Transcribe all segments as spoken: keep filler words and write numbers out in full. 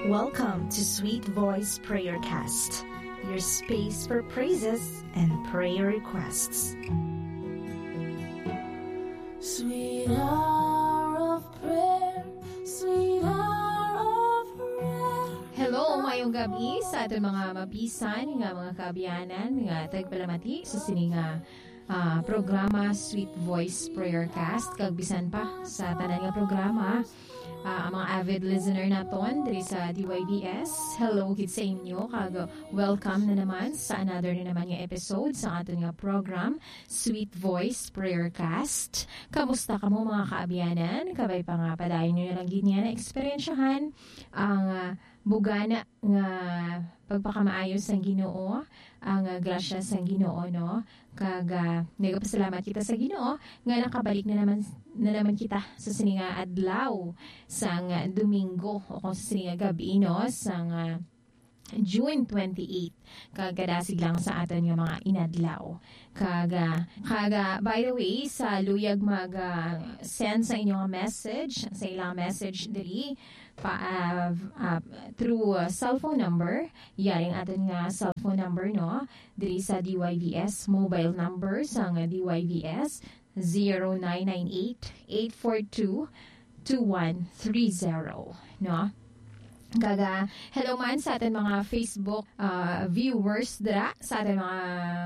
Welcome to Sweet Voice Prayer Cast, your space for praises and prayer requests. Sweet hour of prayer, sweet hour of prayer. Hello, mayong gabi sa aton mga mabisan nga mga kaabyanan nga tagpalamati sa sini nga, ah, programa Sweet Voice Prayer Cast, kag bisan pa sa tanan nga programa, ah, ang mga avid listener naton diri sa D Y V S. Hello gid sa inyo, kag welcome na naman sa another na naman nga episode sa aton nga program, Sweet Voice Prayer Cast. Kamusta kamo, mga kaabyanan? Kabay pa nga padayon nyo na lang gid nga naeksperyensyahan ang, ah, bugana nga pagpakamaayo sang Ginoo, ang, ah, grasya sang Ginoo, no? Kag, ah, nagapasalamat kita sa Ginoo nga nakabalik na naman, na naman kita sa sini nga adlaw sang, ah, Domingo, o kung sa sini nga gab-i, no, sang, ah, June twenty-eight. Kag kadasig lang sa aton nga mga inadlaw. Kag, ah, kag, ah, by the way, sa luyag mag, ah, send sa inyo nga message, sa ilang message diri, pa, ah, ah, through, ah, cellphone number, yari ang aton nga cellphone number, no? Diri sa D Y V S mobile number sang D Y V S, zero nine nine eight, eight four two, two one three zero, no? Kag, ah, hello man sa aton mga Facebook, ah, viewers dira, sa aton mga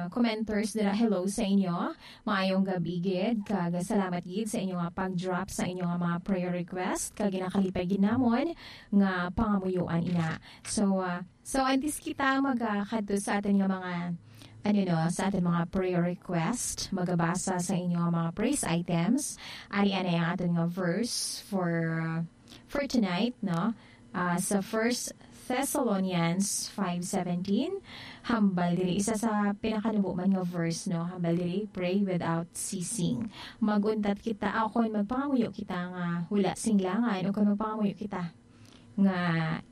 commenters dira. Hello sa inyo. Maayong gabi gid, kag salamat gid sa inyo nga pag-drop sa inyo nga mga prayer request, kag ginakalipay gid namon nga pangamuyoan ina. So, ah, so antes kita magakadto sa aton nga mga, ano, no, sa aton mga prayer request, magabasa sa inyo nga mga praise items. Ari anay ang aton nga verse for, uh, for tonight, no? Ah, sa First Thessalonians five seventeen, hambal diri, isa sa pinakanubo man nga verse, no? Hambal diri, "Pray without ceasing." Mag-untat kita, o kon magpangamuyo kita nga wala sing langan, o kon magpangamuyo kita nga,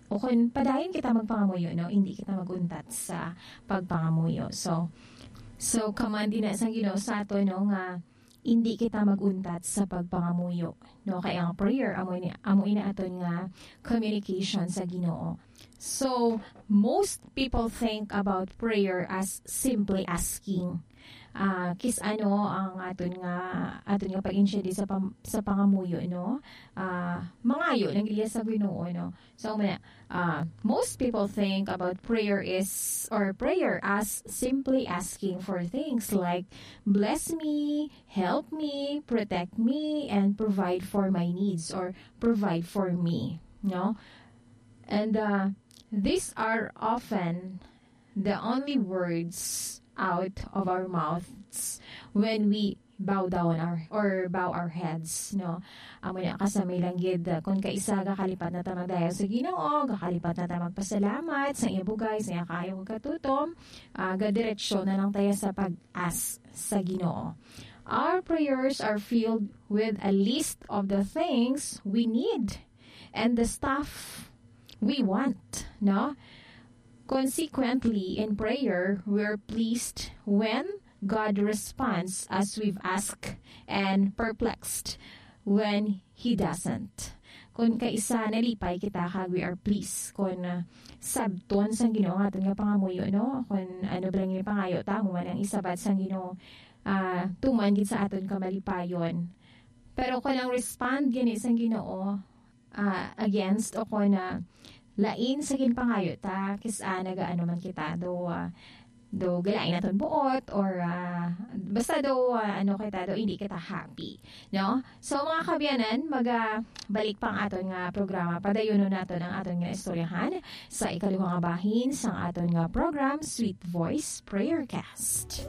o kon padayon kita magpangamuyo, no? Hindi kita mag-untat sa pagpangamuyo. So, so, command ina sang Ginoo sa aton, no, nga hindi kita mag-untat sa pagpangamuyo, no? Kay ang prayer, amo ini, amo ina aton nga communication sa Ginoo. So, most people think about prayer as simply asking. Ah, kis ano ang aton nga, aton nga pag-intindi sa pam-, sa pangamuyo, no? Ah, mangayo lang gid sa Ginoo, no? So, muna, ah, most people think about prayer is, or prayer as simply asking for things like, "Bless me, help me, protect me, and provide for my needs," or "Provide for me," no? And, uh, these are often the only words out of our mouths when we bow down our, or bow our heads, no? Amo na, kasami lang gid, uh, kung kaisa gakalipat na ta magdayaw sa Ginoo, gakalipat na ta magpasalamat sa iya bugay, sa iya kaayo kag katutom, uh, gadiretso na lang tayo sa pag-ask sa Ginoo. Our prayers are filled with a list of the things we need and the stuff we want, no? Consequently, in prayer, we're pleased when God responds as we've asked and perplexed when He doesn't. Kung kaisa, nalipay kita kag we are pleased kung, uh, sabton sang Ginoo ang aton nga pangamuyo, no? Kung ano ba lang yung pangayo ta, amo man ang isabat sang Ginoo, ah, tuman gid sa aton kamalipayon. Pero kung ang respond gani sang Ginoo, ah, against o kung, ah, lain sa ginpangayo ta, kis-a nagaano man kita, do, ah, do galain naton buot, or, ah, basta do, ah, ano kita, do hindi kita happy, no? So, mga kaabyanan, maga-, balik pa ang aton nga programa. Padayonon naton ang aton nga istoryahan sa ikaduha nga bahin sang aton nga program, Sweet Voice Prayer Cast.